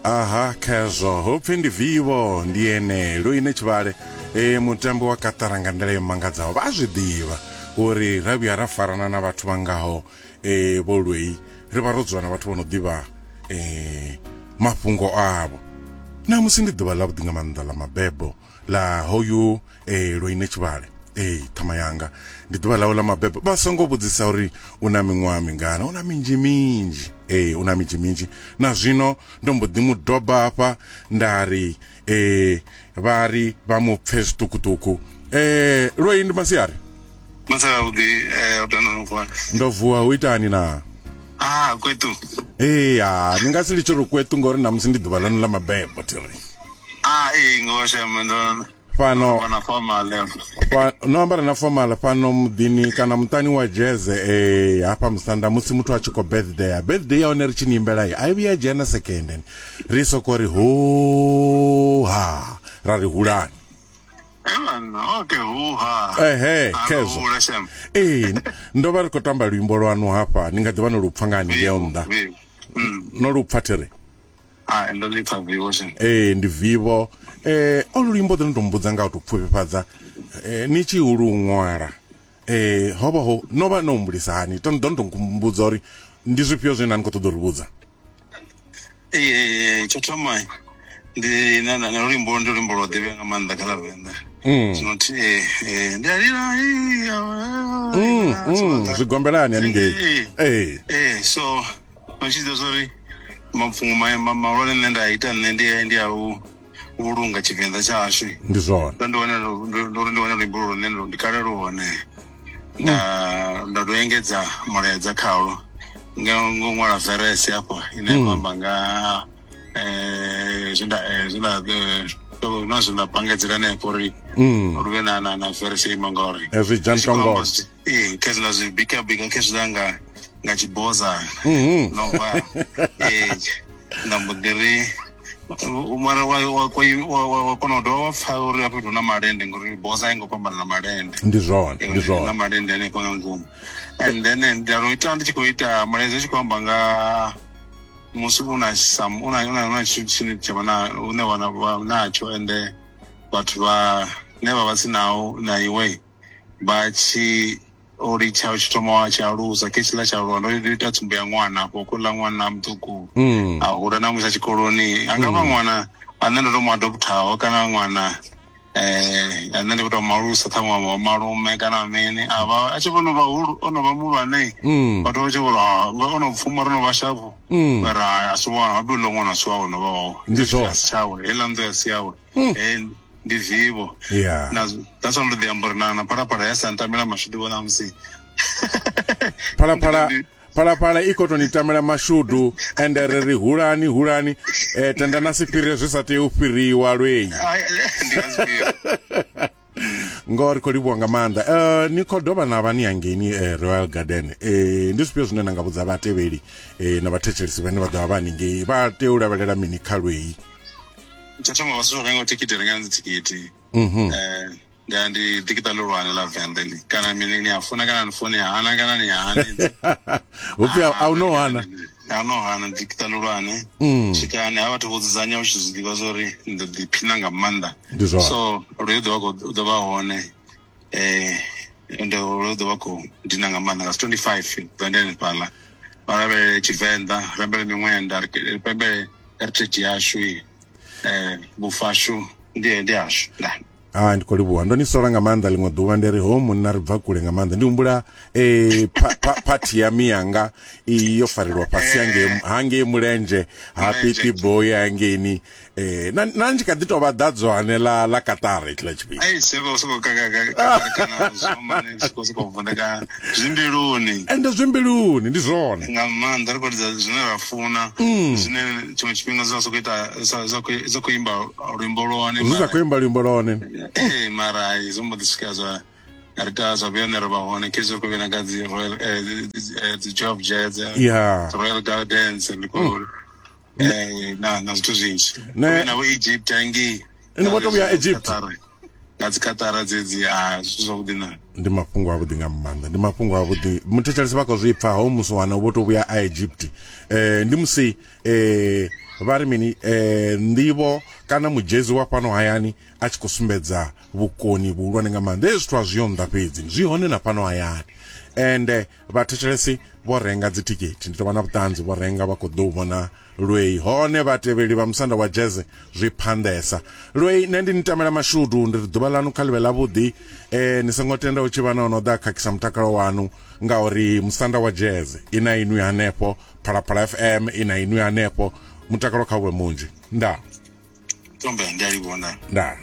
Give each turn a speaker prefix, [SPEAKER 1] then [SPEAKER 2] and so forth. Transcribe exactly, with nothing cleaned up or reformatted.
[SPEAKER 1] Aha, khezwo hupfi ndi Vivo, ndi ene Loine Tshivhale, e mutambo wa Katara nga nḓila yo mangadzaho. Vha zwi ḓivha uri ra vhuya ra farana na vhathu vhangaho e vho Lwei, ri vha ro dzula na vhathu vho no ḓivha e mafhungo avho. Na musi ndi ḓuvha ḽa vhuḓi nga maanḓa ḽa mabebo ḽa hoyu e Loine Tshivhale. Ee, ṱhama yanga ndi ḓuvha ḽawe ḽa mabebo. Vha songo vhudzisa uri u na miṅwaha mingana, u na minzhi minzhi. Ee, u na minzhi minzhi. Na zwino ndo mbo ḓi mu doba hafha nda ri eh vha ri vha mu pfe zwiṱukuṱuku. Eh Lwei, ndi masiari.
[SPEAKER 2] Masiari avhuḓi, eh u tanda no vuwa.
[SPEAKER 1] Ndo vuwa, hu itani na?
[SPEAKER 2] Ah, kwetu.
[SPEAKER 1] Ee, ah, ni nga si litshe uri kwetu ngori namusi ndi ḓuvha ḽanu ḽa mabebo thiri.
[SPEAKER 2] Ah, ee, ngo shema ndo
[SPEAKER 1] fhano
[SPEAKER 2] na formal.
[SPEAKER 1] Fa, no ambara na formal fhano muḓini kana muṱani wa Jeze eh hafha musanda musi muthu a tshi khou birthday. Birthday ya hone ri tshi ni imbela ai vhuya dzhia na second. Ri soko ri ho ha ra ri hulani.
[SPEAKER 2] Okay, hu ha.
[SPEAKER 1] Ehe, khezwo. Eh, ndo vha ri khou tamba luimbo lwanu hafha, ni nga ḓivha no lu pfa nga haningei nnḓa. No lu pfa thiri.
[SPEAKER 2] Ah, ndo ḽi pfa Vivo shem.
[SPEAKER 1] Eh, ndi Vivo. Eh, o luimbo ḓo ndo mbudza nga u to pfufhifhadza. Eh, ni tshi hulu ṅwala. Eh, ho vha ho no vha no humbulisa hani? To ndo ndo mbudza uri ndi zwifhio zwine na ni khou ṱoḓa uri vhudza.
[SPEAKER 2] Eh, tsho thoma ndi na na luimbo ndi luimbo lwo ḓivhea nga maanḓa kha ḽa Venḓa. Zwino thi eh ndi a lila.
[SPEAKER 1] Mm, zwigombelani haningei. Eh.
[SPEAKER 2] Eh, so tshi ḓo uri mapfungo mahulwane nṋe nda ita nṋe ndi ndi a u vhulunga Tshivenḓa tshashu.
[SPEAKER 1] Ndi zwone.
[SPEAKER 2] Ndo ndi wane ndo ndi wane luimbo lune ndi kale lu hone. Nda nda do engedza mulaedza khalwo nga ngo ṅwala verse hafha ine ya amba nga eh zwinda zwinda na zwinda pangedzela hanefho uri lu vhe na na na verse ima ngauri
[SPEAKER 1] ezwi dzhantongo.
[SPEAKER 2] Eh, khezwi nda zwi bika bika khezwi nga nga tshiboza no va eh nda mbo ḓi ri mara wa wa wa wa kona u dovha wa pfa uri hafha hu na malende ngori boza i ngo fhambana na malende.
[SPEAKER 1] Ndi zwone, ndi zwone.
[SPEAKER 2] Na malende hanefho nga ngomu. And then nda ro ita ndi tshi khou ita mulaedza tshi khou amba nga musi u na some u na u na tshithu tshine tsha vha na une wa na natsho ende vhathu vha ne vha vha si nao na iwe vha tshi o litsha tshi thoma wa tshi alusa ke tshiḽa tsha aluwa. Ndo ita tsumbo ya ṅwana afho kuḽa ṅwana muṱuku a hula na musi tshikoloni a nga vha ṅwana ane ndo to mu adopthaho kana ṅwana eh ane ndi to malusa ṱhaṅwe wa malume kana mini a vha a tshi vhono vha hulu ono vha muhulwane vhathu vha tshi vho ri ono pfuma ro no vha shavho ra a si wana habe ḽo ṅwana si wawe no vha wawe.
[SPEAKER 1] Ndi zwone.
[SPEAKER 2] Tshawe heiḽa nnḓu ya si yawe. Eh ndi Vivo.
[SPEAKER 1] Yeah.
[SPEAKER 2] Na that's one ndo ḓi amba uri na na phalaphala ya sa ntamela mashudu vhona musi.
[SPEAKER 1] Phalaphala phalaphala i khou to ni tamela mashudu ende ri ri hulani hulani eh tenda na si fhire zwi sa tea u fhiriwa Lwei.
[SPEAKER 2] Ndi nga zwifhio.
[SPEAKER 1] Ngori khou livhuwa nga maanḓa. Eh ni khou dovha na vha ni hangeini eh, Royal Garden. Eh ndi zwifhio zwine na nga vhudza vhatevheli eh na vhathetshelesi vhane vha ḓo vha vha haningei vha tea u lavhelela mini kha Lwei?
[SPEAKER 2] Tsho thoma vha songo renga thikhithi, renga dzi thikhithi.
[SPEAKER 1] Mhm.
[SPEAKER 2] Eh nda ndi ḓikita ḽihulwane ḽa Venḓa ḽi kana mini ni a funa kana ni funi hana kana ni hani.
[SPEAKER 1] Hupfi a u no hana.
[SPEAKER 2] A no hana ḓikita ḽihulwane. Swikani ha vhathu vho dzudzanya u tshi zwi ḓivha zwori ndi ḓi phina nga maanḓa.
[SPEAKER 1] Ndi zwone.
[SPEAKER 2] So ri ḓo vha ḓo vha hone eh ende ri ḓo vha khou dina nga maanḓa nga twenty-five ḓo ndi hanefhaḽa. Vha lavhelele Tshivenḓa, lavhelele miṅwenda, ri pembele heritage yashu. Eh vhufashu ndi ndi hashu.
[SPEAKER 1] Ah, ndi khou livhuwa. Ndo ni sola nga maanḓa ḽiṅwe ḓuvha ndi ri ho munna ri bva kule nga maanḓa. Ndi humbula eh phathi ya miyanga yo farelwa fhasi hangei hangei Mulenzhe ha Pipi Boy hangeini eh na na ndi kha ḓi tovha ḓadzwane ḽa ḽa Qatar itshiḽa tshifhinga.
[SPEAKER 2] Ai seko seko ka ka ka kana zwo seko seko vundeka zwimbiluni.
[SPEAKER 1] Ende zwimbiluni ndi zwone.
[SPEAKER 2] Nga maanḓa ri khou lidza zwine ra funa zwine tshiṅwe tshifhinga zwa soko ita zwa khou imba luimbo lwone.
[SPEAKER 1] Zwi sa khou imba luimbo lwone.
[SPEAKER 2] Eh mara izwo mbo ḓi swika zwa ri ta zwa vhuya ne ri vha hone khezwi ri khou vhena nga dzi Royal dzi Job Jazz, Royal Gardens ndi khou eh na na zwithu zwinzhi.
[SPEAKER 1] Ne
[SPEAKER 2] na vho Egypt hangei.
[SPEAKER 1] Ni vho to vhuya Egypt.
[SPEAKER 2] Nga dzi Qatar dzedzi a zwithu zwavhuḓi na.
[SPEAKER 1] Ndi mafhungo avhuḓi nga maanḓa, ndi mafhungo avhuḓi. Muthetshelesi vha khou zwi pfa ho musi wana vho to vhuya a Egypt. Eh ndi musi eh Vha ri mini eh nḓivho kana mujezi wa fhano hayani a tshi khou sumbedza vhukoni vhuhulwane nga maanḓa. Hezwi zwithu a zwi yo nnḓa fhedzi, zwi hone na fhano hayani. Ende vhathetshelesi vho renga dzithikhithi, ndi tou vha na vhuṱanzi, vho renga vha khou ḓo vhona Lwei. Hone vhatevheli vha musanda wa jazz zwi phanḓesa. Lwei, nṋe ndi ni tamela mashudu, ndi ri ḓuvha ḽanu kha ḽivhe ḽavhuḓi. Eh ni songo tenda u tshi vha na no ḓa khakhisa mutakalo wanu, ngauri musanda wa jazz ina inwi hanefho, Phalaphala F M ina inwi hanefho, mutakalo kha vhe munzhi. Nda
[SPEAKER 2] Tombe ndi a livhona.
[SPEAKER 1] Nda.